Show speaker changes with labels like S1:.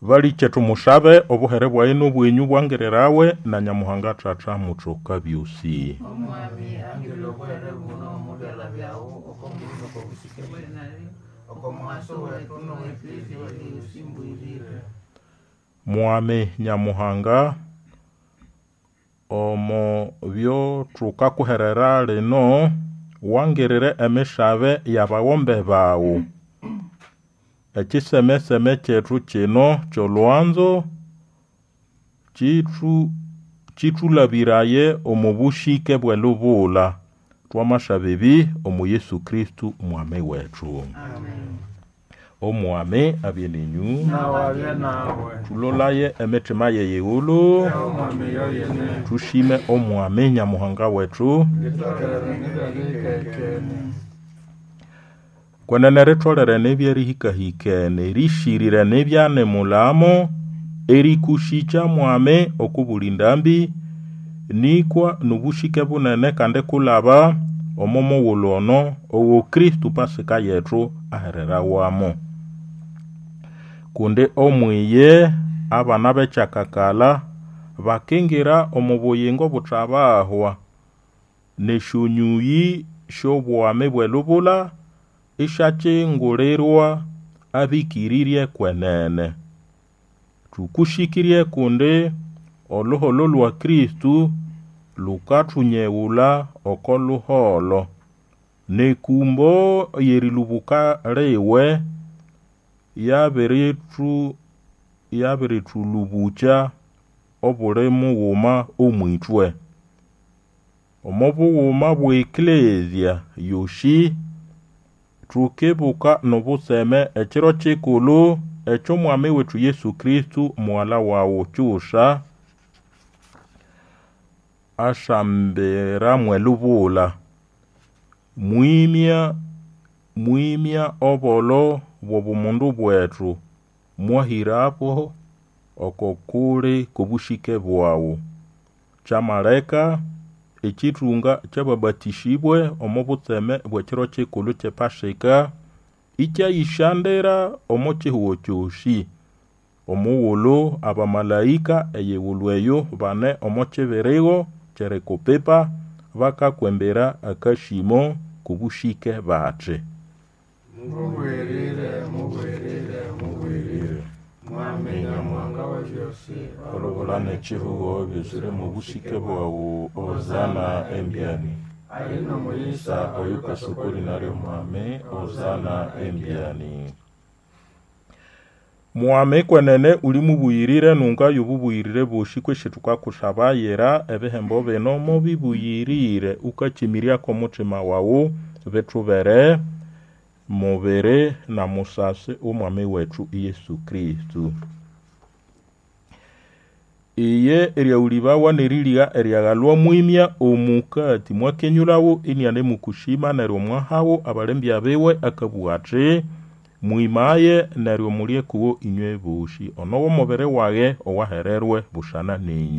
S1: Balikye tumushabe obuhere bwayi n'obwenyu bwangirirawe na Nyamuhanga Tata muthoka byosi.
S2: Omwami angirire obuhere buno omo byalha byawu oko mbulyo n'oko busike bwetu, oko mughaso wethu n'owe Eklezia yosi mbuyirire.
S1: Mwami Nyamuhanga, omo byo thukakuherera lino, wangirire emishabe y'abagombe bawu. Ekisemeseme kyethu kino ky'olwanzo kithulabiraye omo bushike bw'elubula. Twamasaba ebi omu Yesu Kristo Mwami wethu.
S2: Amen.
S1: Omwami abye ninyu.
S3: Nawe abye nawe.
S1: Thulolaye emitima y'eyighulu.
S3: Omwami yoyene.
S1: Thushime Omwami Nyamuhanga wethu.
S3: Litolere nibyerihikahikene.
S1: Kwenene ritholere nibyerihikahikene erishirire nibyanemulamo erikushikya Mwami okubuli ndambi nikwa n'obushike bunene kandi kulaba omo mughulhu ono owo Kristo Pasika yethu ahererawamo. Kundi omwiye abana b'ekyakakalha bakingira omo buyingo buthabahwa n'esyonyuyi sy'obwami bw'elubula isyakyingulirwa abĩkĩrĩrye kwenene. Thukushikirye kundi oluholo lwa Kristo lukathunyewula oko luholo n'ekumbo y'erilubuka liwe yabirithulubukya obuli mughuma omw'ithwe. Omo bughuma bw'eklezia yosi thukibuka n'obutseme ekiro kikulhu eky'Omwami wethu Yesu Kristo mughala wawu kyusa asambira mw'elubula. Mwimya obolo bw'obumundu bwethu mwahirabo oko kuli k'obushike bwawu. Kyamaleka ekithunga ky'ababatĩsĩbwe omo butseme bw'ekiro kikulhu ky'epasika ikyayĩsyandira omo kihugo kyosi. Omughulhu abamalaika eyighulhu eyo bane omo kibirigo ky'erikupipa bakakwembera akasimo k'obushike bathi:
S3: Mubwirire, mubwirire, mubwirire. Mwami Nyamuhanga w'ebyosi.
S1: Olubula n'ekihugo byuzire mu bushike bwawu. Hosana embyani.
S3: Ali n'omuyisa
S1: Oyukasukuli naryo Mwami, Hosana embyani. Mwami kwenene uli mubuyirire nunga y'obubuyirire bwosi kwesi thukakushabayira ebihembo bino mubibuyirire ukakimiryako omuthima wawu bithubere mubiri na musasi w'Omwami wethu Yesu Kristo. Iye eryaghulĩbawa n'eriligha eryaghalwa mwimya omukati mwakenyulhawo inianemukushima neryo mwahawo abalembya biwe akabugha athi: Mwimaye neryo mulye kuwo inywe bosi. Ono w'omubiri wage owahererwe busana nenyũ.